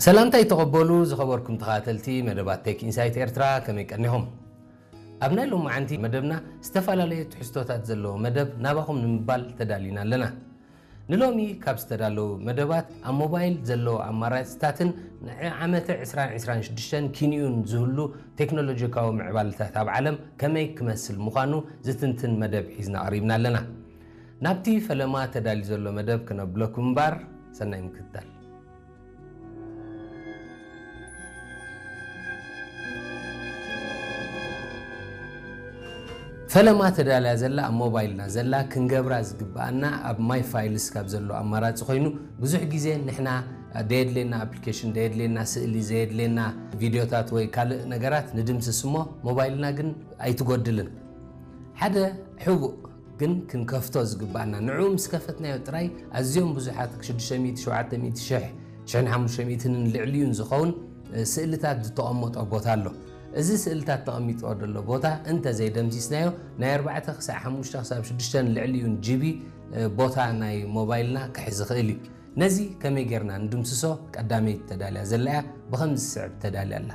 ሰላምታ ይተቐበሉ ዝኸበርኩም ተኸታተልቲ መደባት ቴክ ኢንሳይት ኤርትራ፣ ከመይ ቀኒኹም? ኣብ ናይ ሎማዓንቲ መደብና ዝተፈላለዩ ትሕዝቶታት ዘለዎ መደብ ናባኹም ንምባል ተዳሊና ኣለና። ንሎሚ ካብ ዝተዳለዉ መደባት ኣብ ሞባይል ዘለዉ ኣማራፅታትን ንዓመተ ዕስራን ዕስራን ሽዱሽተን ኪንኡን ዝህሉ ቴክኖሎጂካዊ ምዕባለታት ኣብ ዓለም ከመይ ክመስል ምዃኑ ዝትንትን መደብ ሒዝና ቀሪብና ኣለና። ናብቲ ፈለማ ተዳልዩ ዘሎ መደብ ክነብለኩም እምበር ሰናይ ምክትታል። ፈለማ ተዳልያ ዘላ ኣብ ሞባይልና ዘላ ክንገብራ ዝግብኣና ኣብ ማይ ፋይልስ ካብ ዘሎ ኣማራፂ ኮይኑ ብዙሕ ግዜ ንሕና ደየድልየና ኣፕሊኬሽን ደየድልየና ስእሊ ዘየድልየና ቪዲዮታት ወይ ካልእ ነገራት ንድምስስ እሞ ሞባይልና ግን ኣይትጎድልን። ሓደ ሕቡእ ግን ክንከፍቶ ዝግባኣና ንዕኡ ምስ ከፈትናዮ ጥራይ ኣዝዮም ብዙሓት ሽዱሽተ ሚእቲ ሸውዓተ ሚእቲ ሽሕ ሽሕን ሓሙሽተ ሚእትን ልዕሊኡን ዝኸውን ስእልታት ዝተቐመጦ ቦታ ኣሎ። እዚ ስእልታት ተቐሚጥዎ ዘሎ ቦታ እንተ ዘይደምሲስናዮ ናይ ኣርባዕተ ክሳዕ ሓሙሽተ ክሳብ ሽዱሽተ ልዕሊኡን ጂቢ ቦታ ናይ ሞባይልና ክሕዝ ይኽእል እዩ። ነዚ ከመይ ጌርና ንድምስሶ ቀዳመይቲ ተዳልያ ዘላ እያ። ብኸምዚ ዝስዕብ ተዳልያ ኣላ።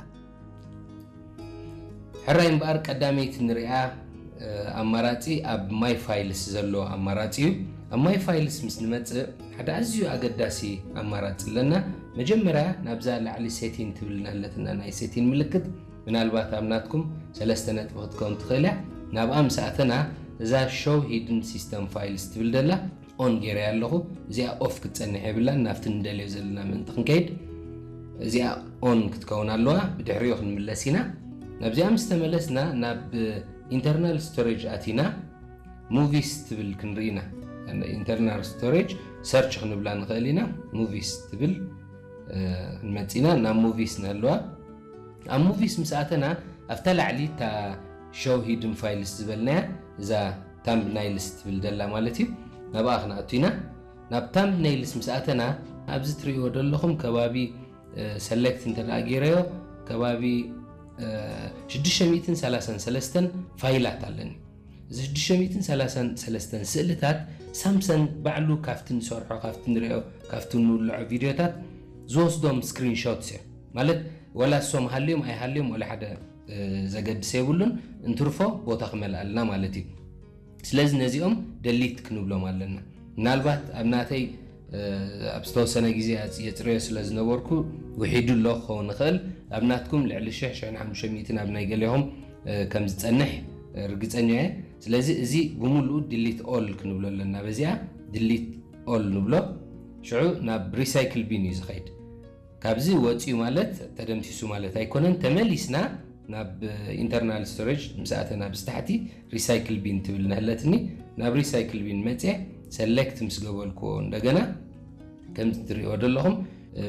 ሕራይ እምበኣር ቀዳመይቲ ንሪኣ ኣማራፂ ኣብ ማይ ፋይልስ ዘሎ ኣማራፂ እዩ። ኣብ ማይ ፋይልስ ምስ ንመፅእ ሓደ ኣዝዩ ኣገዳሲ ኣማራፂ ኣለና። መጀመርያ ናብዛ ላዕሊ ሴቲን ትብል ኣለትና ናይ ሴቲን ምልክት ምናልባት ኣብ ናትኩም ሰለስተ ነጥቢ ክትከውን ትኽእል እያ። ናብኣ ምስ ኣተና እዛ ሾው ሂድን ሲስተም ፋይልስ ትብል ደላ ኦን ገይረያ ኣለኹ። እዚኣ ኦፍ ክትፀንሕ የብላን። ናብቲ ንደልዮ ዘለና ምእንቲ ክንከይድ እዚኣ ኦን ክትከውን ኣለዋ። ብድሕሪኡ ክንምለስ ኢና። ናብዚኣ ምስ ተመለስና ናብ ኢንተርናል ስቶሬጅ ኣቲና ሙቪስ ትብል ክንርኢ ኢና። ኢንተርናል ስቶሬጅ ሰርች ክንብላ ንኽእል ኢና። ሙቪስ ትብል ክንመፅና ናብ ሙቪስ ንህልዋ። ኣብ ሙቪስ ምስ ኣተና ኣብታ ላዕሊ እታ ሾው ሂድን ፋይልስ ዝበልናያ እዛ ታምብናይልስ ትብል ደላ ማለት እዩ። ናብኣ ክንኣቱ ኢና። ናብ ታምብናይልስ ምስ ኣተና ኣብዚ ትርእይዎ ዘለኹም ከባቢ ሰሌክት እንተ ደኣ ገይረዮ ከባቢ ሽዱሽተ ሚእትን ሰላሳን ሰለስተን ፋይላት ኣለኒ። እዚ ሽዱሽተ ሚእትን ሰላሳን ሰለስተን ስእልታት ሳምሰንግ ባዕሉ ካብቲ ንሰርሖ ካብቲ ንሪኦ ካብቲ ንውልዖ ቪድዮታት ዝወስዶም ስክሪንሾትስ እዮም። ማለት ወላ እሶም ሃልዮም ኣይሃልዮም ወላ ሓደ ዘገድስ የብሉን። እንትርፎ ቦታ ክመልኣልና ማለት እዩ። ስለዚ ነዚኦም ደሊት ክንብሎም ኣለና። ምናልባት ኣብ ናተይ ኣብ ዝተወሰነ ግዜ የፅርዮ ስለ ዝነበርኩ ውሒዱ ኣሎ ክኸውን ይኽእል። ኣብ ናትኩም ልዕሊ ሽሕ ሽሕን ሓሙሽተ ሚእትን ኣብ ናይ ገሌኹም ከም ዝፀንሕ ርግፀኛ እየ። ስለዚ እዚ ብምሉኡ ድሊት ኦል ክንብሎ ኣለና። በዚኣ ድሊት ኦል ንብሎ። ሽዑ ናብ ሪሳይክል ቢን እዩ ዝኸይድ። ካብዚ ወፂኡ ማለት ተደምሲሱ ማለት ኣይኮነን። ተመሊስና ናብ ኢንተርናል ስቶሬጅ ምስ ኣተና ብዝታሕቲ ሪሳይክል ቢን ትብል ነህለትኒ። ናብ ሪሳይክል ቢን መፅየ ሰሌክት ምስ ገበልክዎ እንደገና ከምዚ ትሪእዎ ዘለኹም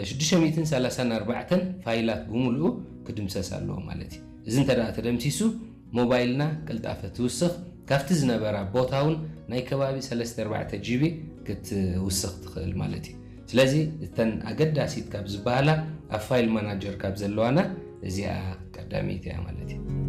ሽዱሽተ ሚእትን ሰላሳን ኣርባዕተን ፋይላት ብምሉኡ ክድምሰስ ኣለዎ ማለት እዩ። እዚ እንተ ደኣ ተደምሲሱ ሞባይልና ቅልጣፈ ትውስኽ፣ ካብቲ ዝነበራ ቦታ እውን ናይ ከባቢ ሰለስተ ኣርባዕተ ጂቢ ክትውስኽ ትኽእል ማለት እዩ። ስለዚ እተን ኣገዳሲት ካብ ዝበሃላ ኣብ ፋይል ማናጀር ካብ ዘለዋና እዚኣ ቀዳመይቲ እያ ማለት እዩ።